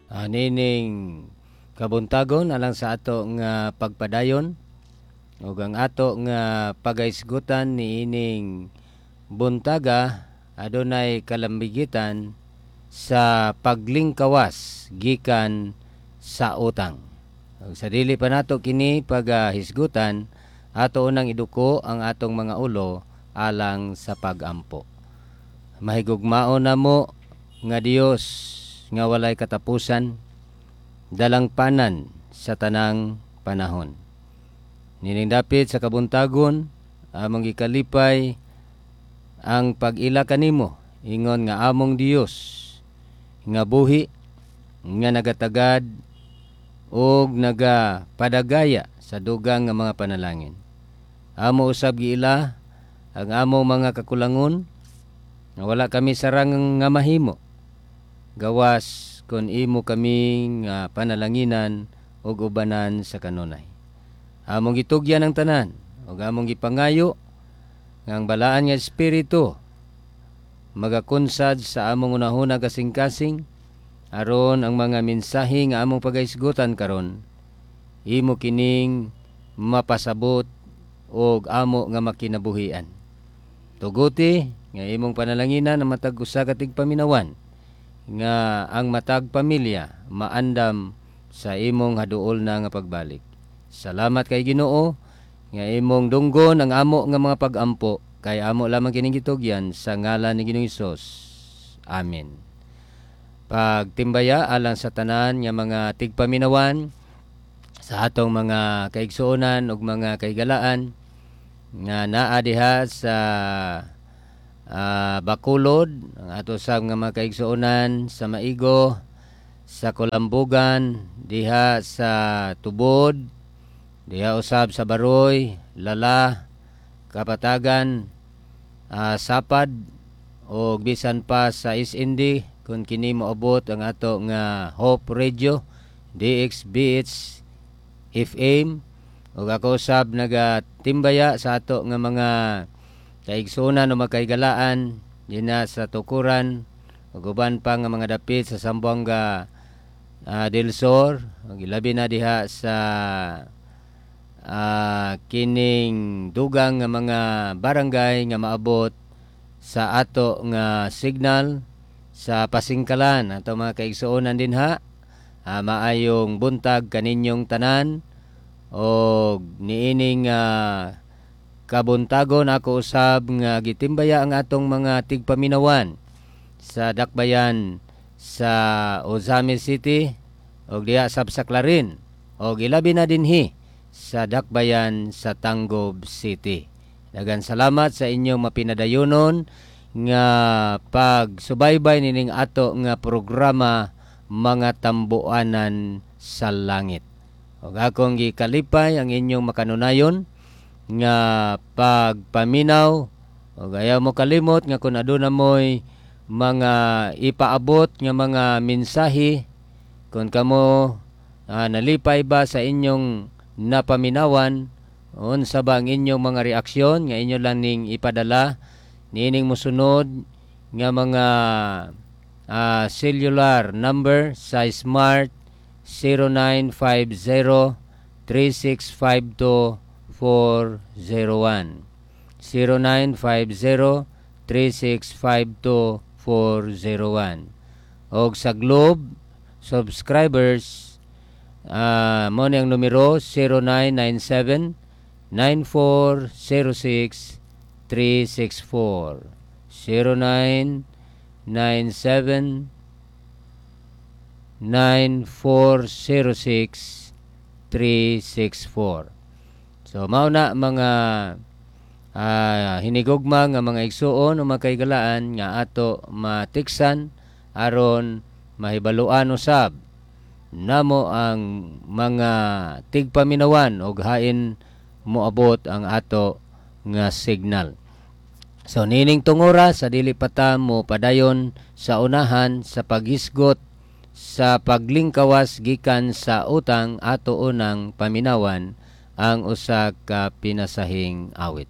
Nining kabuntagon, alang sa ato nga pagpadayon ug ang ato nga pagahisgutan niining buntaga, adunay kalambigitan sa paglingkawas gikan sa utang. Ug sa dili pa nato kini pagahisgutan, ato unang iduko ang atong mga ulo alang sa pagampo. Mahigugmaon namo nga Dios nga walay katapusan, dalangpanan sa tanang panahon. Nining dapit sa kabuntagon, among gikalipay ang pag-ila kanimo ingon nga among Dios nga buhi, nga nagatagad ug nagapadagaya sa dugang nga mga panalangin. Amo usab giila ang among mga kakulangon nga wala kami sarang nga mahimo gawas kon imo kami nga panalanginan ug ubanan sa kanunay. Among gitugyan ang tanan ug among gipangayo nga ang balaan nga Espiritu magakunsad sa among unahuna kasing-kasing aron ang mga mensahe nga among pagahisgutan karon, imo kining mapasabot og amo nga makinabuhian. Tuguti nga imong panalanginan ang matag usa ka tigpaminawan, nga ang matag pamilya maandam sa imong haduol na nga pagbalik. Salamat kay Ginoo nga imong dunggon ang amo nga mga pagampo, kay amo lamang kining gitugyan sa ngalan ni Ginoong Hesus. Amen. Pagtimbaya alang sa tanan nga mga tigpaminawan, sa atong mga kaigsuonan ug mga kaigalaan nga naa diha sa Bacolod, ang ato sa nga mga kaigsuonan sa Maigo, sa Kolambugan, diha sa Tubod, diha usab sa Baroy, Lala, Kapatagan, Sapad o bisan pa sa SND kung kini moabot ang ato nga Hope Radio DXBH FM. Ug ako usab nagatimbaya sa ato nga mga kaigsuonan o makaigalaan dinha sa Tukuran ug uban pa nga mga dapit sa Zamboanga del Sur, ug ilabi na diha sa kining dugang nga mga barangay nga maabot sa ato nga signal sa Pasingkalan. Ato mga kaigsuonan dinha, maayong buntag kaninyong tanan. Og niining kabuntagon, ako usab nga gitimbaya ang atong mga tigpaminawan sa dakbayan sa Ozamiz City og diha sab sa Clarin og ilabi na dinhi sa dakbayan sa Tangub City. Daghang salamat sa inyong mapinadayonon nga pagsubaybay nining ato nga programa, Mga Tambuanan sa Langit. Ug akong gikalipay ang inyong makanunayon nga pagpaminaw, ug ayaw mo kalimot nga kung aduna mo'y mga ipaabot nga mga mensahe, kung kamo nalipay ba sa inyong napaminawan, unsa ba ang inyong mga reaksyon nga inyo lang ning ipadala niining mosunod nga mga cellular number sa Smart: 0950 3652 401, 0950 3652 401. Og sa Globe subscribers, mo ni ang numero: 0997 9406 364, 0997 9406 364. So mao na, mga hinigugma nga mga igsuon o mga kaigalaan nga ato matiksan aron mahibaluan usab namo ang mga tigpaminawan og hain moabot ang ato nga signal. So nining tungora, sa dili pa ta mo padayon sa unahan sa paghisgot sa paglingkawas gikan sa utang, ato unang paminawan ang usa ka pinasahing awit.